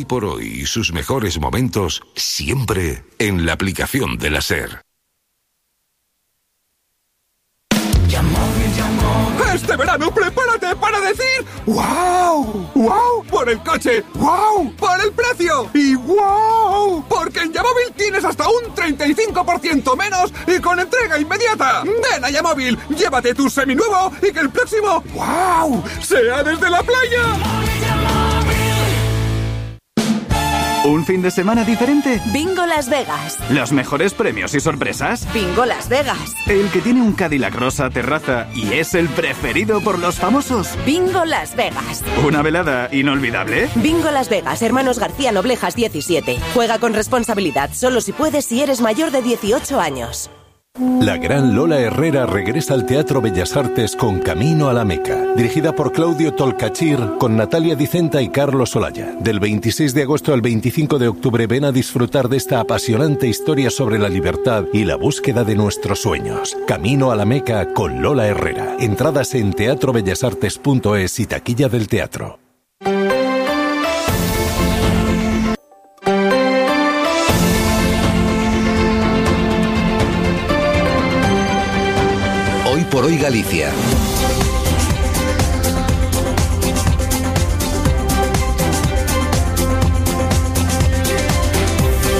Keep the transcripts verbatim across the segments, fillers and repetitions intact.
Hoy por hoy y sus mejores momentos siempre en la aplicación de la SER. Este verano prepárate para decir ¡wow! ¡Wow! Por el coche, ¡wow! Por el precio y ¡wow! Porque en Yamóvil tienes hasta un treinta y cinco por ciento menos y con entrega inmediata. Ven a Yamóvil, llévate tu seminuevo y que el próximo ¡wow! sea desde la playa. ¿Un fin de semana diferente? Bingo Las Vegas. ¿Los mejores premios y sorpresas? Bingo Las Vegas. ¿El que tiene un Cadillac rosa terraza y es el preferido por los famosos? Bingo Las Vegas. ¿Una velada inolvidable? Bingo Las Vegas, Hermanos García Noblejas diecisiete. Juega con responsabilidad, solo si puedes si eres mayor de dieciocho años. La gran Lola Herrera regresa al Teatro Bellas Artes con Camino a la Meca, dirigida por Claudio Tolcachir, con Natalia Dicenta y Carlos Olaya. Del veintiséis de agosto al veinticinco de octubre ven a disfrutar de esta apasionante historia sobre la libertad y la búsqueda de nuestros sueños. Camino a la Meca con Lola Herrera. Entradas en teatro bellas artes punto es y taquilla del teatro. Hoy por hoy Galicia.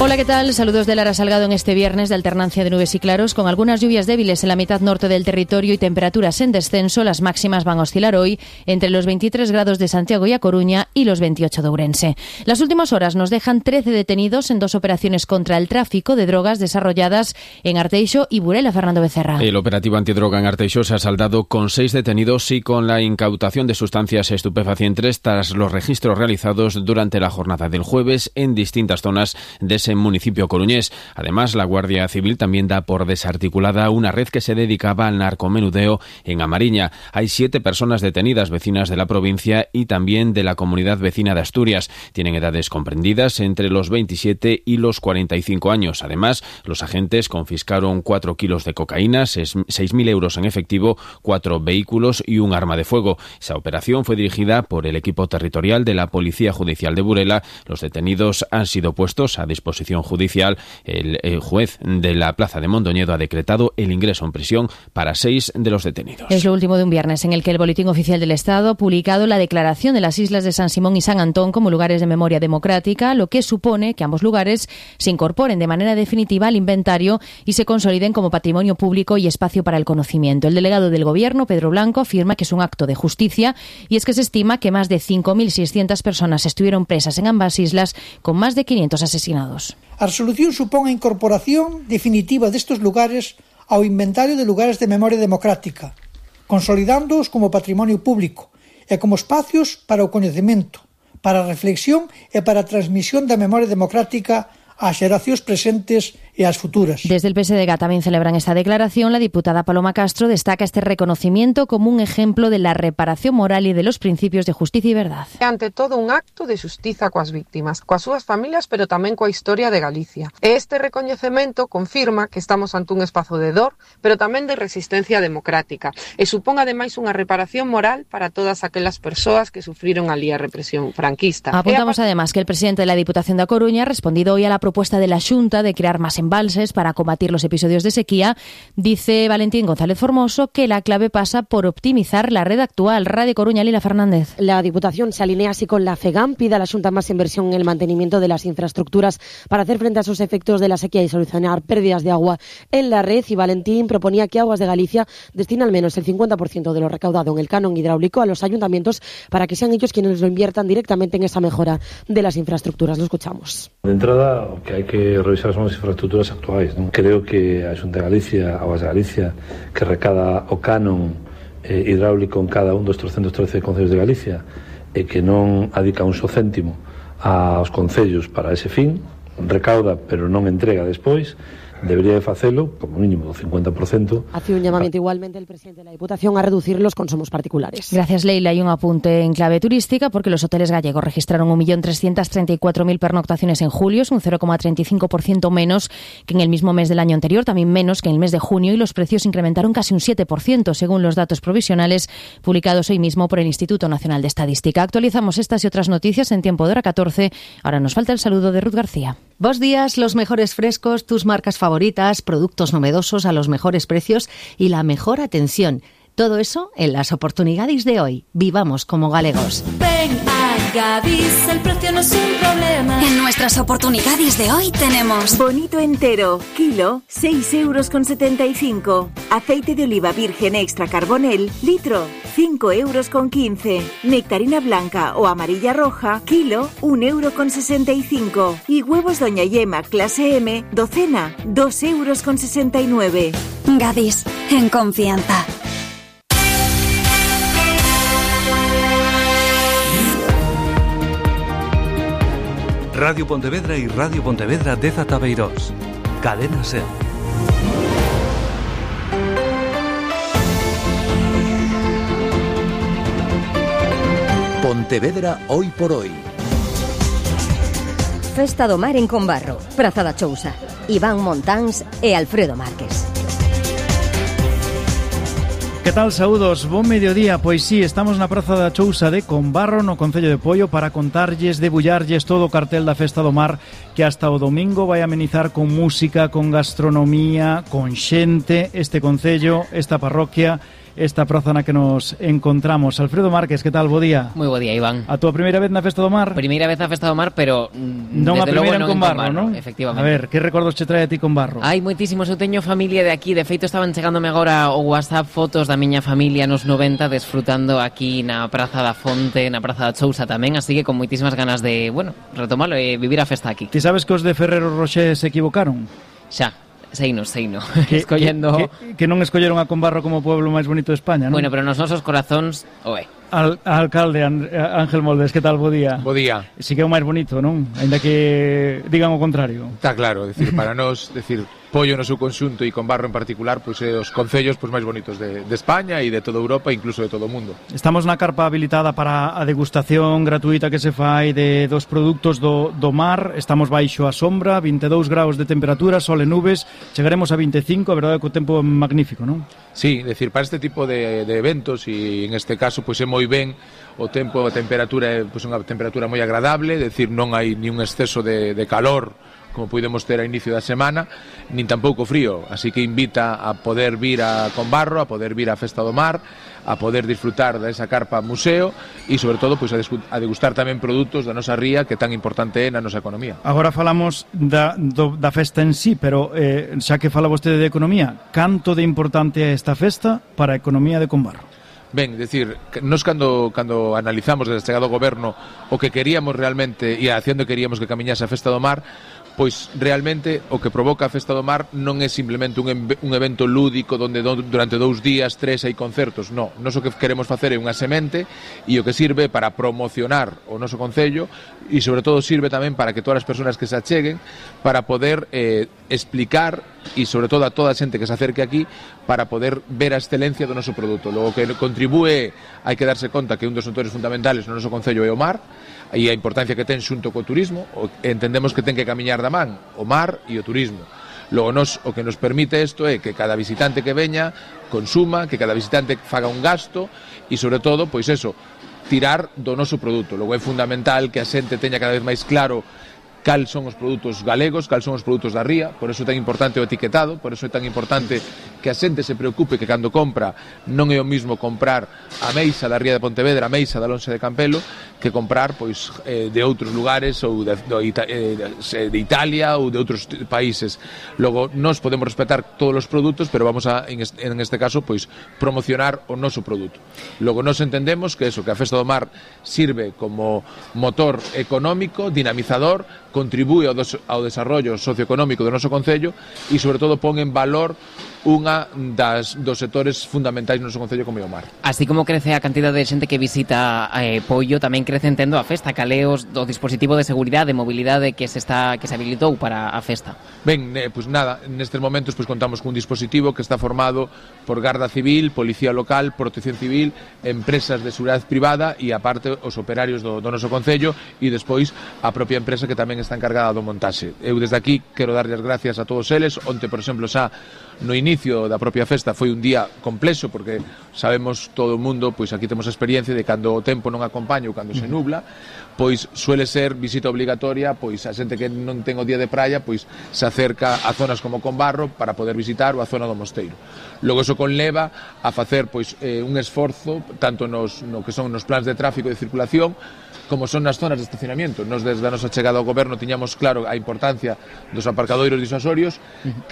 Hola, ¿qué tal? Saludos de Lara Salgado en este viernes de alternancia de nubes y claros, con algunas lluvias débiles en la mitad norte del territorio y temperaturas en descenso. Las máximas van a oscilar hoy entre los veintitrés grados de Santiago y A Coruña y los veintiocho de Ourense. Las últimas horas nos dejan trece detenidos en dos operaciones contra el tráfico de drogas desarrolladas en Arteixo y Burela. Fernando Becerra. El operativo antidroga en Arteixo se ha saldado con seis detenidos y con la incautación de sustancias estupefacientes tras los registros realizados durante la jornada del jueves en distintas zonas de ese municipio coruñés. Además, la Guardia Civil también da por desarticulada una red que se dedicaba al narcomenudeo en Amariña. Hay siete personas detenidas, vecinas de la provincia y también de la comunidad vecina de Asturias. Tienen edades comprendidas entre los veintisiete y los cuarenta y cinco años. Además, los agentes confiscaron cuatro kilos de cocaína, seis mil euros en efectivo, cuatro vehículos y un arma de fuego. Esa operación fue dirigida por el equipo territorial de la Policía Judicial de Burela. Los detenidos han sido puestos a disposición judicial. El, el juez de la Plaza de Mondoñedo ha decretado el ingreso en prisión para seis de los detenidos. Es lo último de un viernes en el que el Boletín Oficial del Estado ha publicado la declaración de las islas de San Simón y San Antón como lugares de memoria democrática, lo que supone que ambos lugares se incorporen de manera definitiva al inventario y se consoliden como patrimonio público y espacio para el conocimiento. El delegado del Gobierno, Pedro Blanco, afirma que es un acto de justicia y es que se estima que más de cinco mil seiscientas personas estuvieron presas en ambas islas, con más de quinientos asesinados. A resolución supón a incorporación definitiva destes lugares ao inventario de lugares de memoria democrática, consolidándoos como patrimonio público e como espacios para o coñecemento, para a reflexión e para a transmisión da memoria democrática ás xeracións presentes e ás futuras. Desde el P S D G también celebran esta declaración. La diputada Paloma Castro destaca este reconocimiento como un ejemplo de la reparación moral y de los principios de justicia y verdad. Ante todo, un acto de xustiza coas víctimas, coas súas familias, pero tamén coa historia de Galicia. Este recoñecemento confirma que estamos ante un espazo de dor, pero tamén de resistencia democrática, e supón ademais unha reparación moral para todas aquelas persoas que sufriron ali a represión franquista. Apuntamos además que el presidente de la Diputación da Coruña ha respondido hoy a la propuesta de la Xunta de crear más embalses para combatir los episodios de sequía. Dice Valentín González Formoso que la clave pasa por optimizar la red actual. Radio Coruña, Lila Fernández. La Diputación se alinea así con la FEGAM, pide a la Xunta más inversión en el mantenimiento de las infraestructuras para hacer frente a esos efectos de la sequía y solucionar pérdidas de agua en la red. Y Valentín proponía que Aguas de Galicia destina al menos el cincuenta por ciento de lo recaudado en el canon hidráulico a los ayuntamientos para que sean ellos quienes lo inviertan directamente en esa mejora de las infraestructuras. Lo escuchamos. De entrada, que hai que revisar son as infraestructuras actuais, non? Creo que a Xunta de Galicia, Aguas de Galicia, que recada o canon eh, hidráulico en cada un dos trescentos trece concellos de Galicia e que non adica un só céntimo aos concellos para ese fin, recauda pero non entrega despois, debería de facelo, como mínimo do cincuenta por ciento. Hace un llamamiento igualmente el presidente de la Diputación a reducir los consumos particulares. Gracias, Leila. Y un apunte en clave turística, porque los hoteles gallegos registraron un millón trescientas treinta y cuatro mil pernoctaciones en julio, es un cero coma treinta y cinco por ciento menos que en el mismo mes del año anterior, también menos que en el mes de junio, y los precios incrementaron casi un siete por ciento, según los datos provisionales publicados hoy mismo por el Instituto Nacional de Estadística. Actualizamos estas y otras noticias en tiempo de hora catorce. Ahora nos falta el saludo de Ruth García. Bos días, los mejores frescos, tus marcas favoritas, productos novedosos a los mejores precios y la mejor atención. Todo eso en las oportunidades de hoy. Vivamos como galegos. Ven a Gadis, el precio no es un problema. En nuestras oportunidades de hoy tenemos bonito entero, kilo, seis euros con setenta y cinco. Aceite de oliva virgen extra carbonel, litro, cinco euros con quince. Nectarina blanca o amarilla roja, kilo, un euro con sesenta y cinco. Y huevos Doña Yema clase M, docena, dos euros con sesenta y nueve. Gadis, en confianza. Radio Pontevedra y Radio Pontevedra dez Atabeirós. Cadena SER. Pontevedra hoy por hoy. Festa do Mar en Combarro, Praza da Chousa. Iván Montáns e Alfredo Márquez. Que tal, saúdos, bon mediodía. Pois sí, estamos na Praza da Chousa de Combarro, no Concello de Poio, para contarlles, debullarlles todo o cartel da Festa do Mar, que hasta o domingo vai amenizar con música, con gastronomía, con xente, este concello, esta parroquia, esta praza na que nos encontramos. Alfredo Márquez, que tal, bo día? Moi bo día, Iván. A túa primeira vez na Festa do Mar? Primeira vez na Festa do Mar, pero non a primeira en Combarro, non? Efectivamente. A ver, que recordos che trae a ti Combarro? Hai moitísimos, eu teño familia de aquí, de feito estaban chegándome agora o WhatsApp fotos da miña familia nos noventa desfrutando aquí na Praza da Fonte, na Praza da Chousa tamén, así que con moitísimas ganas de, bueno, retomalo e vivir a festa aquí. Ti sabes que os de Ferrero Rocher se equivocaron? Xa. Seino, seino, que, escollendo... Que, que, que non escolleron a Combarro como o pueblo máis bonito de España, non? Bueno, pero nos nosos corazóns, oe. Al, alcalde Ángel Moldes, que tal, bo día? Bo día. Si que é o máis bonito, non? Ainda que digan o contrario. Está claro, decir, para nós, decir, Poio no seu conxunto e Combarro en particular, pois é os concellos pois máis bonitos de, de España e de toda Europa, incluso de todo o mundo. Estamos na carpa habilitada para a degustación gratuita que se fai de dos produtos do, do mar. Estamos baixo a sombra, vinte e dous graus de temperatura, sol e nubes. Chegaremos a vinte e cinco, a verdade é que o tempo é magnífico, non? Sí, decir, para este tipo de, de eventos e en este caso pois é moi ben o tempo, a temperatura é pois unha temperatura moi agradable, decir, non hai ni un exceso de, de calor como podemos ter a inicio da semana, nin tampouco frío, así que invita a poder vir a Combarro, a poder vir á Festa do Mar, a poder disfrutar desa carpa museo e, sobre todo, pois, a degustar tamén produtos da nosa ría, que tan importante é na nosa economía. Agora falamos da, do, da festa en sí, pero eh, xa que fala vostede de economía, canto de importante é esta festa para a economía de Combarro? Ben, decir, nos cando, cando analizamos desde a chegada do goberno o que queríamos realmente e a acción que queríamos que camiñase a Festa do Mar, pois realmente o que provoca a Festa do Mar non é simplemente un, un evento lúdico onde do, durante dous días, tres hai concertos, non. Nos o que queremos facer é unha semente e o que sirve para promocionar o noso concello e sobre todo sirve tamén para que todas as persoas que se acheguen para poder eh, explicar e sobre todo a toda a xente que se acerque aquí para poder ver a excelencia do noso produto. Logo que contribúe, hai que darse conta que un dos motores fundamentales no noso concello é o mar e a importancia que ten xunto co turismo, entendemos que ten que camiñar da man o mar e o turismo. Logo, nos, o que nos permite isto é que cada visitante que veña consuma, que cada visitante faga un gasto e, sobre todo, pois eso, tirar do noso produto. Logo, é fundamental que a xente teña cada vez máis claro cal son os produtos galegos, cal son os produtos da ría, por eso é tan importante o etiquetado, por eso é tan importante que a xente se preocupe que cando compra non é o mismo comprar a meixa da ría de Pontevedra, a meixa da Lonxe de Campelo, que comprar pois eh, de outros lugares ou de, de, de, de Italia ou de outros países. Logo, nós podemos respetar todos os produtos, pero vamos a, en este, en este caso, pois promocionar o noso produto. Logo, nós entendemos que eso, que a Festa do Mar sirve como motor económico, dinamizador, contribúe ao, dos, ao desarrollo socioeconómico do noso concello e, sobre todo, pon en valor unha das dos sectores fundamentais no noso concello como é o mar. Así como crece a cantidad de xente que visita eh, Poio, tamén crece entendo a festa, caleos do dispositivo de seguridade, de mobilidade que se está que se habilitou para a festa. Ben, eh, pues nada, nestes momentos pues contamos cun dispositivo que está formado por Garda Civil, Policía Local, Protección Civil, empresas de seguridade privada e aparte os operarios do, do noso concello e despois a propia empresa que tamén está encargada do montaxe. Eu desde aquí quero darlle as gracias a todos eles. Onte, por exemplo, xa no inicio da propia festa foi un día complexo porque sabemos todo o mundo, pois aquí temos a experiencia de cando o tempo non acompaña ou cando se nubla, pois suele ser visita obligatoria, pois a xente que non ten o día de praia, pois se acerca a zonas como Combarro para poder visitar ou a zona do Mosteiro. Logo iso conleva a facer pois eh, un esforzo tanto nos no que son nos plans de tráfico e de circulación como son nas zonas de estacionamiento. Nos desde a nosa chegada ao goberno tiñamos claro a importancia dos aparcadoiros disuasorios,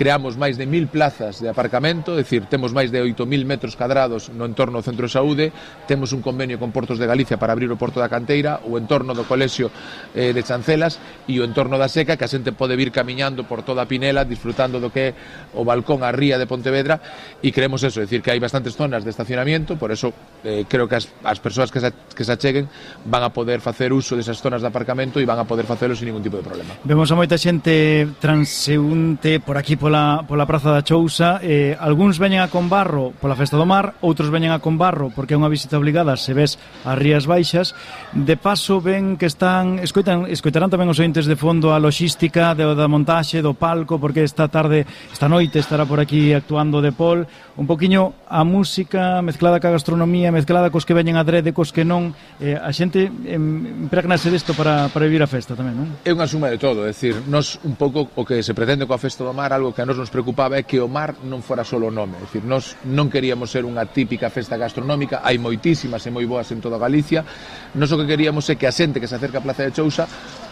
creamos máis de mil plazas de aparcamento, é dicir, temos máis de oito mil metros cadrados no entorno do Centro de Saúde, temos un convenio con Portos de Galicia para abrir o Porto da Canteira, o entorno do Colexio eh, de Chancelas e o entorno da Seca, que a xente pode vir camiñando por toda a Pinela, disfrutando do que é o balcón a ría de Pontevedra, e creemos eso, é dicir, que hai bastantes zonas de estacionamiento, por eso eh, creo que as, as persoas que se, que se acheguen van a poder facer uso desas zonas de aparcamento e van a poder facelo sin ningún tipo de problema. Vemos a moita xente transeúnte por aquí pola, pola Praza da Chousa, eh, algúns veñen a Combarro pola Festa do Mar, outros veñen a Combarro porque é unha visita obligada se ves as Rías Baixas. De paso ven que están escoitan, escoitarán tamén os ointes de fondo a logística de, da montaxe, do palco, porque esta tarde, esta noite estará por aquí actuando De Paul, un poquiño a música mezclada ca gastronomía, mezclada cos que veñen a drede, cos que non, eh, a xente em, impregnase desto para, para vivir a festa tamén, non? É unha suma de todo, é dicir, nos un pouco o que se pretende coa Festa do Mar, algo que a nos nos preocupaba é que o mar non fora solo o nome, é dicir, nos non queríamos ser unha típica festa gastronómica, hai moitísimas e moi boas en toda Galicia, nos o que queríamos é que a xente que se acerca a Plaza de Chousa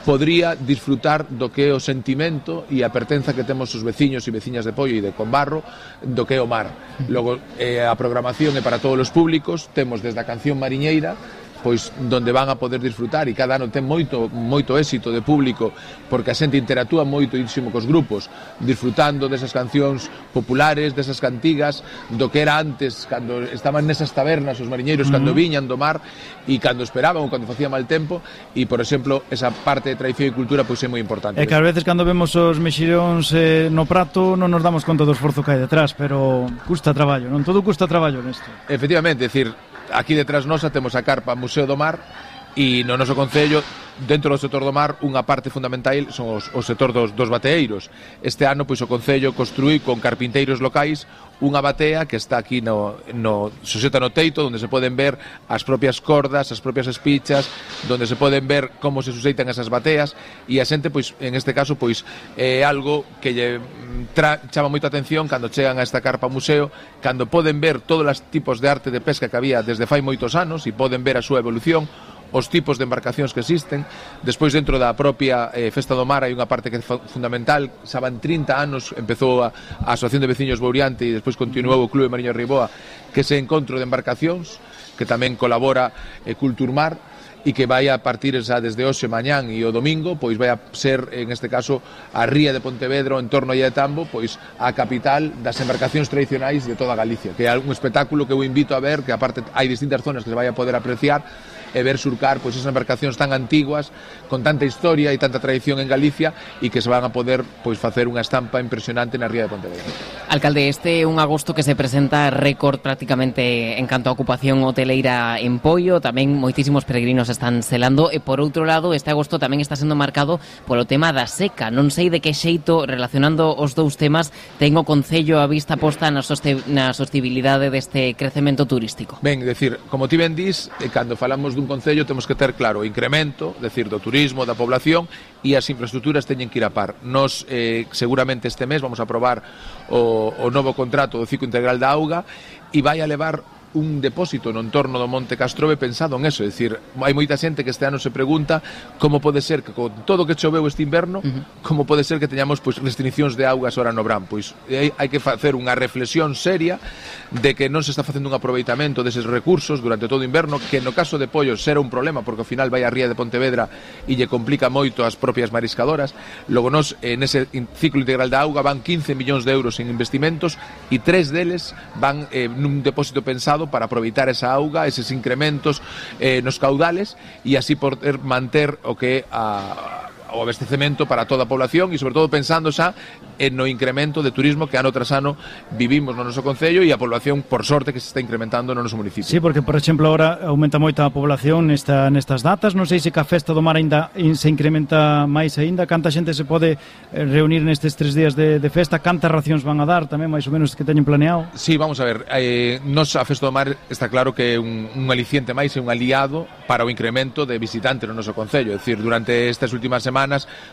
podría disfrutar do que é o sentimento e a pertenza que temos os veciños e veciñas de Poio e de Combarro do que é o mar. Logo, eh, a programación é para todos os públicos, temos desde a canción mariñeira, pois donde van a poder disfrutar, e cada ano ten moito moito éxito de público porque a xente interactúa moito íntimo cos grupos, disfrutando desas cancións populares, desas cantigas, do que era antes cando estaban nesas tabernas os mariñeiros, cando viñan do mar e cando esperaban ou cando facía mal tempo, e por exemplo esa parte de tradición e cultura pois é moi importante. É que ás veces cando vemos os mexiróns eh, no prato non nos damos conta do esforzo que hai detrás, pero custa traballo, non? Todo custa traballo nesto. Efectivamente, é dicir, aquí detrás nosa temos a carpa Museo do Mar e no noso concello, dentro do sector do mar, unha parte fundamental son os, o sector dos, dos bateeiros. Este ano, pois, o concello construí con carpinteiros locais unha batea que está aquí no, no suxeta no teito, onde se poden ver as propias cordas, as propias espichas, onde se poden ver como se suxeitan esas bateas, e a xente, pois, en este caso, pois, é algo que lle tra, chama moita atención cando chegan a esta carpa museo, cando poden ver todos os tipos de arte de pesca que había desde fai moitos anos e poden ver a súa evolución, os tipos de embarcacións que existen. Despois, dentro da propia eh, Festa do Mar hai unha parte que é fundamental, xa van trinta anos, empezou a, a Asociación de Veciños Bouriante e despois continuou o Clube Mariño Riboa, que ese encontro de embarcacións que tamén colabora eh, Culturmar, e que vai a partir xa desde hoxe, mañán e o domingo, pois vai a ser, en este caso, a ría de Pontevedra, o entorno de Tambo, pois a capital das embarcacións tradicionais de toda Galicia, que é un espectáculo que eu invito a ver, que aparte hai distintas zonas que se vai a poder apreciar, e ver surcar pois esas embarcacións tan antiguas, con tanta historia e tanta tradición en Galicia, e que se van a poder pois facer unha estampa impresionante na ría de Pontevedra. Alcalde, este é un agosto que se presenta récord prácticamente en canto a ocupación hoteleira en Poio, tamén moitísimos peregrinos están selando, e por outro lado, este agosto tamén está sendo marcado polo tema da seca. Non sei de que xeito, relacionando os dous temas, ten o Concello a vista posta na, soste na sostibilidade deste crecemento turístico. Ben, decir, como ti ben dis, cando falamos dun concello temos que ter claro o incremento, decir, do turismo, da población, e as infraestructuras teñen que ir a par. Nos, eh, seguramente este mes, vamos a aprobar o, o novo contrato do ciclo integral da auga, e vai a levar un depósito no entorno do Monte Castrobe pensado en eso, é dicir, hai moita xente que este ano se pregunta como pode ser que con todo o que choveu este inverno, uh-huh. como pode ser que teñamos pois restriccións de augas ora no verán. Pois hai, hai que facer unha reflexión seria de que non se está facendo un aproveitamento deses recursos durante todo o inverno, que no caso de Pollos será un problema porque ao final vai a ría de Pontevedra e lle complica moito as propias mariscadoras. Logo nos, en ese ciclo integral da auga van quince millóns de euros en investimentos e tres deles van eh, nun depósito pensado para aproveitar esa auga, eses incrementos eh, nos caudales e así poder manter o que a o abastecemento para toda a población e sobre todo pensando xa en no incremento de turismo que ano tras ano vivimos no noso concello e a población, por sorte, que se está incrementando no noso municipio. Sí, porque, por exemplo, agora aumenta moita a población nesta, nestas datas, non sei se que a Festa do Mar ainda se incrementa máis aínda, canta xente se pode reunir nestes tres días de, de festa, cantas racións van a dar tamén, máis ou menos, que teñen planeado? Sí, vamos a ver, eh, nos a Festa do Mar está claro que é un, un aliciente máis e un aliado para o incremento de visitantes no noso concello, é dicir, durante estas últimas semanas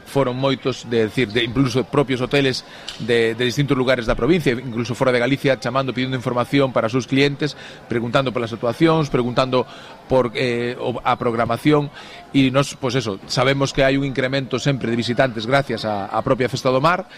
foron moitos, de decir, de incluso propios hoteles de, de distintos lugares da provincia, incluso fora de Galicia, chamando, pedindo información para os seus clientes, preguntando polas actuacións, preguntando por eh, a programación e nos, pois eso, sabemos que hai un incremento sempre de visitantes gracias á, á propia Festa do Mar.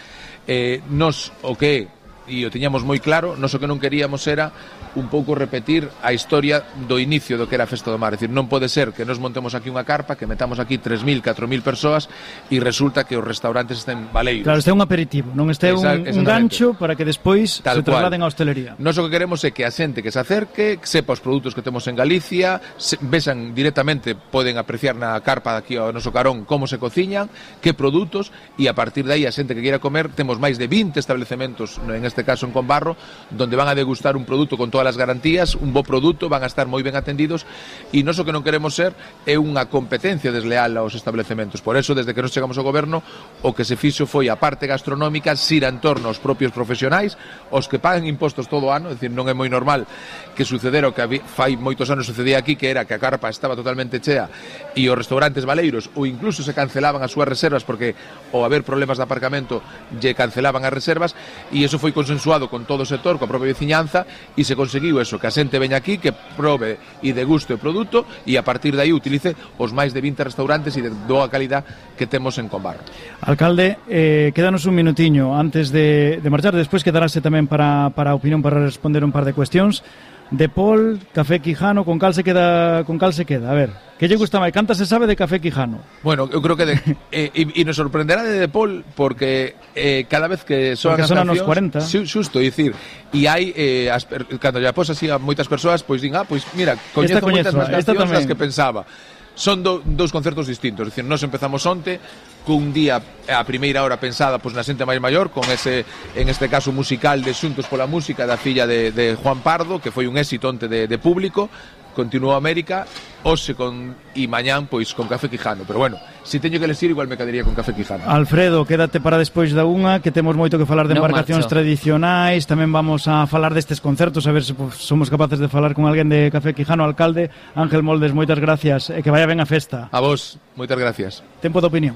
Eh, nos o que e o tiñamos moi claro, nos o que non queríamos era un pouco repetir a historia do inicio do que era a Festa do Mar, é dicir, non pode ser que nos montemos aquí unha carpa, que metamos aquí tres mil, catro mil persoas e resulta que os restaurantes estén baleiros. Claro, este é un aperitivo, non este é un, un gancho para que despois Tal se trasladen á hostelería. Nos o que queremos é que a xente que se acerque, que sepa os produtos que temos en Galicia, se, vexan directamente, poden apreciar na carpa aquí ao noso carón como se cociñan, que produtos, e a partir de aí a xente que queira comer, temos máis de vinte establecementos, en este caso en Conbarro, donde van a degustar un produto con todas as garantías, un bo produto, van a estar moi ben atendidos e nós o que non queremos ser é unha competencia desleal aos establecementos. Por eso, desde que nos chegamos ao goberno, o que se fixo foi a parte gastronómica xira en torno aos propios profesionais, os que pagan impostos todo o ano, é dicir, non é moi normal que sucedera o que fai moitos anos sucedía aquí, que era que a carpa estaba totalmente chea e os restaurantes baleiros ou incluso se cancelaban as súas reservas porque ao haber problemas de aparcamento lle cancelaban as reservas, e iso foi consensuado con todo o sector, coa propia veciñanza, e se conseguiu eso, que a xente veña aquí, que probe e deguste o produto e a partir de aí utilice os máis de vinte restaurantes e de boa calidad que temos en Conbarro. Alcalde, eh, quédanos un minutiño antes de, de marchar, despois quedarase tamén para, para a opinión, para responder un par de cuestións. De Paul, Café Quijano, con cal se queda, con cal se queda? A ver, que lle gusta máis? Canta se sabe de Café Quijano? Bueno, eu creo que de, eh, e, e nos sorprenderá de De Paul porque eh, cada vez que soan as cancións, nos cuarenta. Xusto, é dicir, e hai eh, as, cando lle apos así a moitas persoas, pois din, ah, pois mira, coñezo moitas máis cancións das que pensaba. Son do, dous concertos distintos, é dicir, nós empezamos onte cun día a primeira hora pensada pois na xente máis maior, con ese, en este caso, musical de Xuntos pola Música da filla de, de Juan Pardo, que foi un éxito onte de, de público. Continuou América, hoxe con e mañán pois con Café Quijano, pero bueno, se teño que elegir igual me quedaría con Café Quijano. Alfredo, quédate para despois da unha, que temos moito que falar de no embarcacións marcho. tradicionais, tamén vamos a falar destes concertos, a ver se pues, somos capaces de falar con alguén de Café Quijano. Alcalde Ángel Moldes, moitas gracias e que vaya ben a festa. A vos, moitas gracias. Tempo de opinión.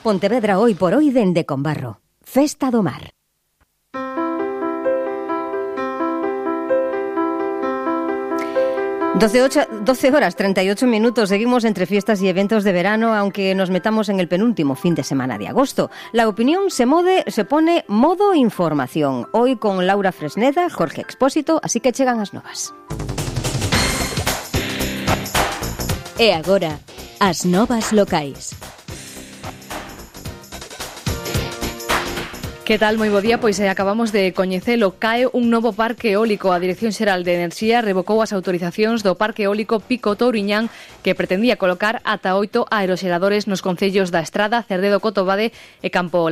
Pontevedra hoy por hoy dende Conbarro. Festa do Mar. doce horas treinta y ocho minutos. Seguimos entre fiestas y eventos de verano, aunque nos metamos en el penúltimo fin de semana de agosto. La opinión se, mode, se pone modo información. Hoy con Laura Fresneda, Jorge Expósito, así que chegan as novas. E agora, as novas locais. Que tal? Moi bo día, pois eh, acabamos de coñecelo. Cae un novo parque eólico. A Dirección Xeral de Enerxía revocou as autorizacións do parque eólico Pico Touriñán, que pretendía colocar ata oito aeroxeradores nos concellos da Estrada, Cerdedo, Cotobade e Campo